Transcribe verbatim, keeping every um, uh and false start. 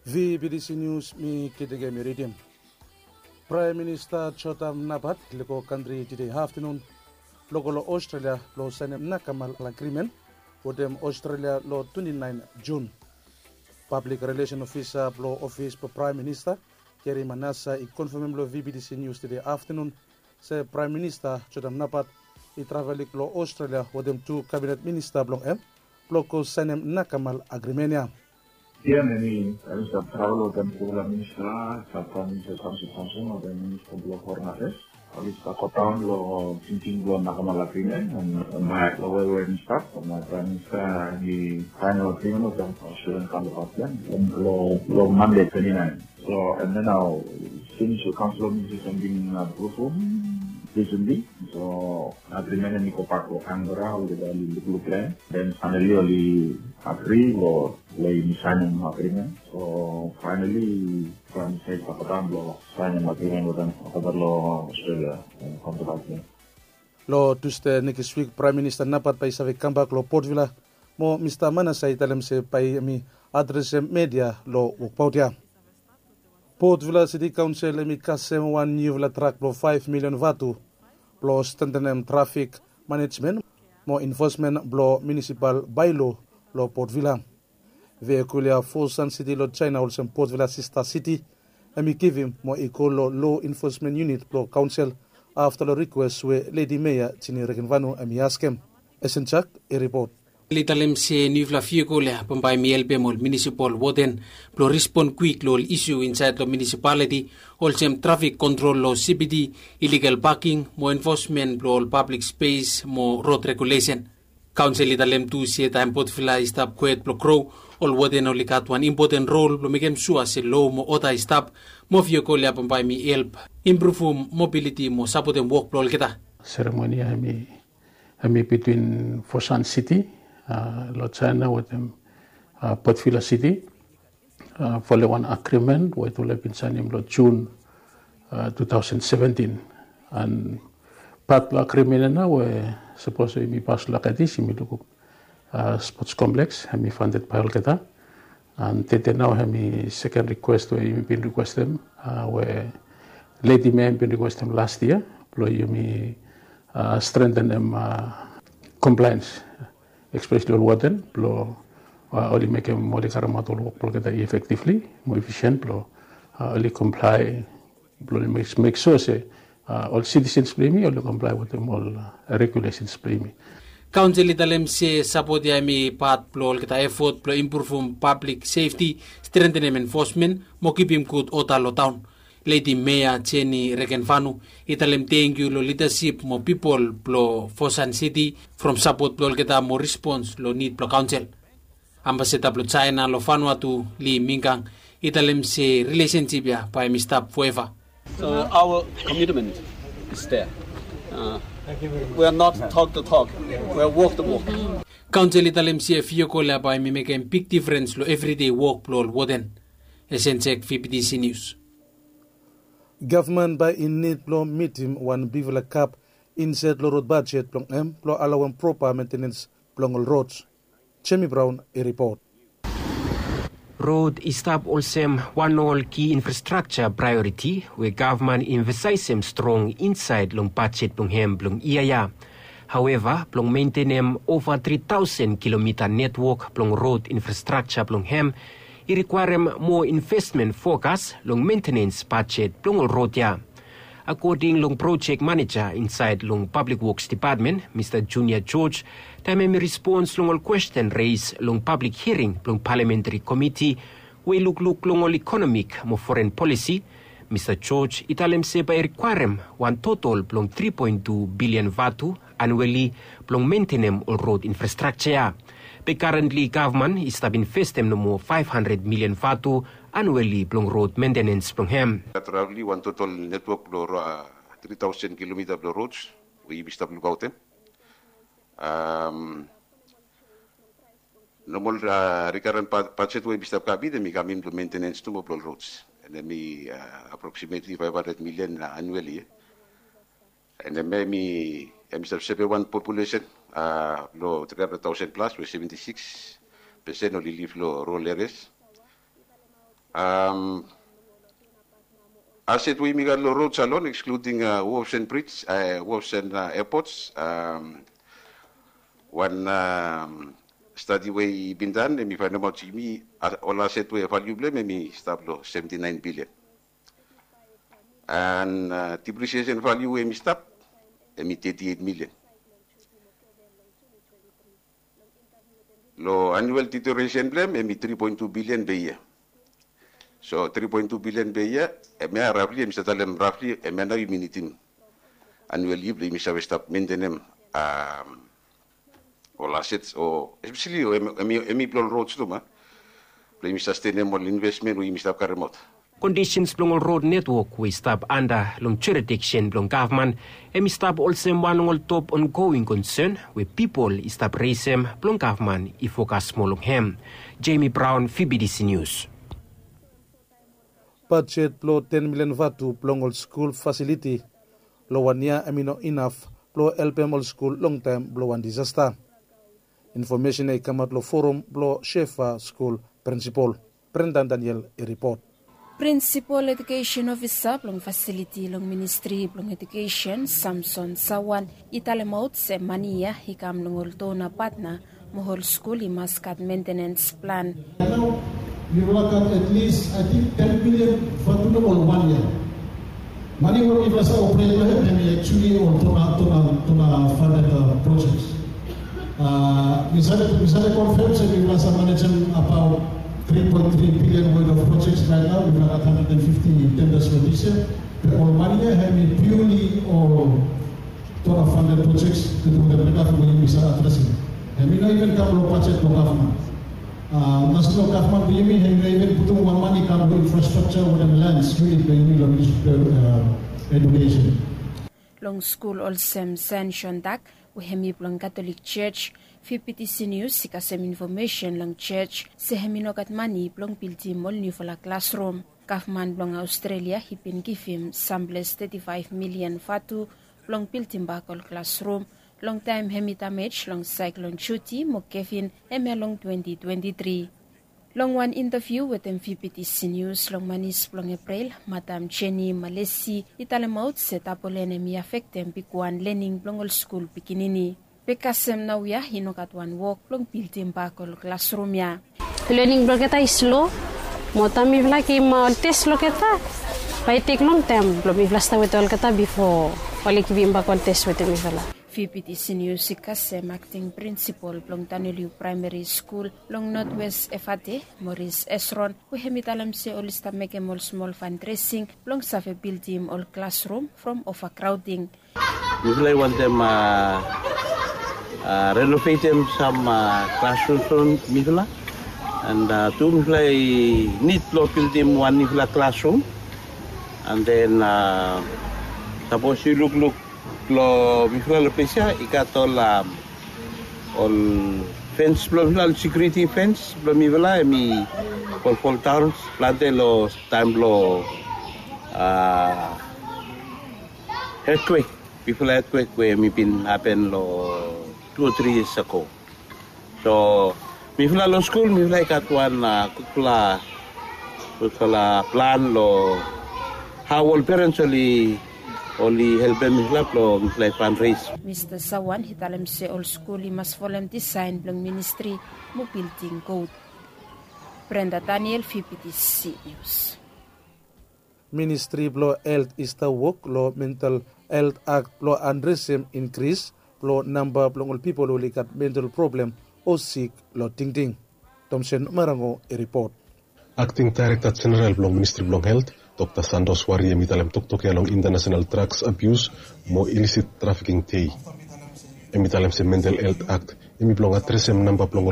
V B T C News, mi Kidegemi ridim. Praem Minista Jotam Napat i lego kantri tede aftenun blong go long Australia blong saenem nakamal agrimen wetem Australia long twenti naen Jun. Pablik Rilesen Ofisa blong ofis blong Praem Minista, Gary Manassa, i konfamem long V B T C News tede aftenun se Praem Minista Jotam Napat i travel i go long Australia wetem tu kabinet minista blong hem blong go saenem nakamal agrimen ya. Ia, mi stap travel wetem tufala minista, stap Praem Minista Thomas Thompson wetem Minista blong Foren Afeas. Oli stap godaon long tingting blong nakamal agrimen, bae long wewen i stap, Praem Minista i saenem agrimen wetem Australian kauntapat ya long Mande twenti naen. So, and then nao, since the Council of Ministers hem bin approve recently, so agrimen hemi gobak long Canberra, olgeta oli lukluk long hem. Then finally oli agri long, long yumi saenem agrimen. So finally Praem Minista i stap godaon blong saenem agrimen wetem olgeta long Australia, kauntapat ya. Long Tusde nekis wik, Praem Minista Napat bae i save kambak long Port Vila, mo Mista Manassa i talem se bae hemi adresem media long wokbaot ya. Port Vila City Council hemi kasem wan niufala trak blong faef milion vatu blong strengtenem trafik manejmen mo enfosmen blong munisipal baelo long Port Vila. Vehikol ya Fosun City long Jaena, olsem Port Vila sista siti, hemi givim mo i go long law enforcement unit blong kaonsel afta long rikwes we Ledi Mea Jini Regenvanu hemi askem. Esen Jak i ripot. Li talem se niufala vehikol ya bambae hemi helpem ol munisipal woden blong respon kwik long ol isu insaed long munisipaliti, olsem trafik kontrol long C B D, iligal paking mo enfosmen blong ol pablik spes mo rod regulesen. Kaonsel i talem tu se taem Port Vila i stap kwet blong gro, ol woden oli gat wan impoten rol blong mekem sua se lo mo oda i stap, mo vehikol ya bambae hemi help impruvum mobiliti mo sapotem wok blong olgeta. Seremoni ya hemi, hemi bitwin Fosun City long Jaena wetem Port Vila City, folem wan agrimen we tufala i bin saenem long Jun tu taosen seventin. An pat blong agrimen ya nao we sapos we yumi pas long Aedes, yumi lukluk spots kompleks hemi fanded bae olgeta. An tede nao hemi seken rikwes we yumi bin rikwestem, we Ledi Mea hemi bin rikwestem las yia blong yumi strengtenem komplaens, espeseli ol woden, blong oli mekem, oli karemaot ol wok blong olgeta efektivli mo efisien, blong oli komplae, blong oli mek sua se ol sitisens blong yumi oli komplae wetem ol regulesens blong yumi. Kaonsel i talem se sapot ya hemi pat blong olgeta efot blong impruvum pablik sefti, strengtenem enfosmen mo kipim gud oda long taon. Ledi Mea Jini Regenvanu i talem tangkiu long lidasip mo pipol blong Fosun City from sapot blong olgeta mo respons long nid blong kaonsel. Ambasada blong Jaena long Vanuatu, Li Mingang, i talem se rilesensip ya bae hemi stap foeva. So our commitment is there. We are not talk the talk, we are walk the walk. Kaonsel i talem se vehikol ya bae hemi mekem big difrens long evridei wok blong ol woden. Esen Jak, V B T C Nius. Gavman bae i nid blong mitim wan bigfala gap insaed long rod bajet blong hem blong alawem propa mentenens blong ol rods. Jemi Braon i ripot. Rod i stap olsem wan ol ki infrastrakja praeoriti we gavman i emfasaesem strong insaed long bajet blong hem blong yia ya. Haoeva, blong mentenem ova tri taosen kilomita netwok blong rod infrastrakja blong hem i rikwaerem moa investmen fokas long mentenens bajet blong ol rod ya. Akoding long projek maneja insaed long Pablik Woks Depatmen, Mista Junior George, taem hemi respons long ol kwesten res long pablik hiring blong Palamentari Komiti we i lukluk long ol ikonomik mo foren polisi, Mista George i talem se bae i rikwaerem wan totol blong tri poen tu bilian vatu anueli blong mentenem ol rod infrastrakja ya. Be karentli gavman i stap investem nomo faef handred milian vatu anueli blong rod mentenens blong hem. Gat rafli wan totol netwok blong tri taosen kilomita blong rods we yumi stap lukaotem. Nomol rikaren bajet we yumi stap kamit hemi kamim long mentenens tu mo blong rods, and hemi aproksimetli faef handred milian anueli. And hemi, hemi stap save wan populesen blong tri handred taosen plas we seventi sikis pesen oli liv long rural areas. Aset we yumi gat long rod salon, excluding wharfs and bridge, wharfs and airports. Wan stadi we i bin dan, em i fainemaot yumi ol aset we valiu blong em em i stap long seventy nine billion. And depreciation valiu we em i stap, em i thirty eight million. Long annual deterioration blong em em i three point two billion per year. So three point two billion per year, em ya rafli em i save talem rafli em ya nao yumi nidim annual yia blong yumi save stap mentenem ol asets o espeseli o em i blong ol rods tu ma blong yumi sastenem ol investment we yumi stap karemaot. Kondisens blong ol rod netwok we i stap anda long jurisdiksen blong gavman em i stap olsem wan long ol top ongoing konsen we pipol i stap resem blong gavman i fokas moa long hem. Jemi Braon, V B T C Nius. Bajet blong ten milian vatu blong ol skul fasiliti long wan yia em i no inaf blong helpem ol skul long taem blong wan disasta. Infomesen ya i kamaot long forum blong Shefa skul prinsipol. Brendan Daniel i ripot. Prinsipol ejukesen ofisa blong fasiliti long ministri blong ejukesen, Samson Sawan, i talemaot se mane ya i kam long ol dona patna mo ol skul i mas gat mentenens plan. Nao mifala gat at least, I think, ten million vatu long ol wan yia. Mane we mifala save opret long hem hem i actually ol dona dona dona funded projects. Mi save mi save confirm se mifala save manejem about three point three billion worth of projects right now. Mifala gat hundred and fifty tenders for this year. Be ol mane ya hem i purely ol dona funded projects, to do the better for yumi save adresem. Hem i no even kam long bajet blong gavman. Nasenal gavman blong yumi hem i no even putum wan mane i kam long infrastructure wetem lands unit blong yumi long ministri blong ejukesen. Long skul olsem Sen Shondak we hem i blong Katolik Jos, V B T C Nius i kasem infomesen long jos se hem i no gat mane blong bildim ol niufala klasrum. Gavman blong Aostrelia i bin givim samples teti faef milian vatu blong bildimbak ol klasrum long taem hem i damej long saeklon Judy mo Kevin hemia long twenti twenti tri. Long wan intaviu wetem V B T C Nius long manis blong Eprel, Madam Jenny Malesi i talemaot se tapolen hem i afektem bigwan lening blong ol skul pikinini. Be kasem naoia i no gat wan wok blong bildimbak ol klasrum ya. Lening blong olgeta i slo, mo taem mifala givim ol tes long olgeta, bae i tek longtaem blong mifala stap wetem olgeta bifo oli givimbak ol tes wetem mifala. V B T C Nius i kasem akting prinsipol blong Taneliu Praemeri Skul long Notwes Efate, Moris Esron, we hem i talem se oli stap mekem ol smol fandresing blong save bildim ol klasrum from ovakraoding. Mifala i wantem renovetem sam klasrums blong mifala. And tu mifala i nid blong bildim wan niufala klasrum. And then sapos yu lukluk long mifala long ples ya i gat ol ol fens blong mifala, ol sekuriti fens blong mifala hem i folfoldaon plante long taem blong etwek, bifala etwek we hem i bin hapen long tu o tri yias ago. So mifala long skul mifala i gat wan gudfala gudfala plan long hao ol perens oli oli helpem mifala blong mifala i fandres. Mista Sawan i talem se ol skul i mas folem disaen blong ministri mo bilding god. Brenda Daniel, V B T C Nius. Ministri blong Helt i stap wok long Mental Helt Akt blong adresem inkris blong namba blong ol pipol we oli gat mental problem o sik long tingting. Tomsen Marango i ripot. Akting Daerekta Jeneral blong Ministri blong Helt, Dokta Santos Wari hem i talem toktok ya long Intanasenal Drags Abius mo Ilisit Trafiking Dei. Hem i talem se Mental Helt Akt hem i blong adresem namba blong ol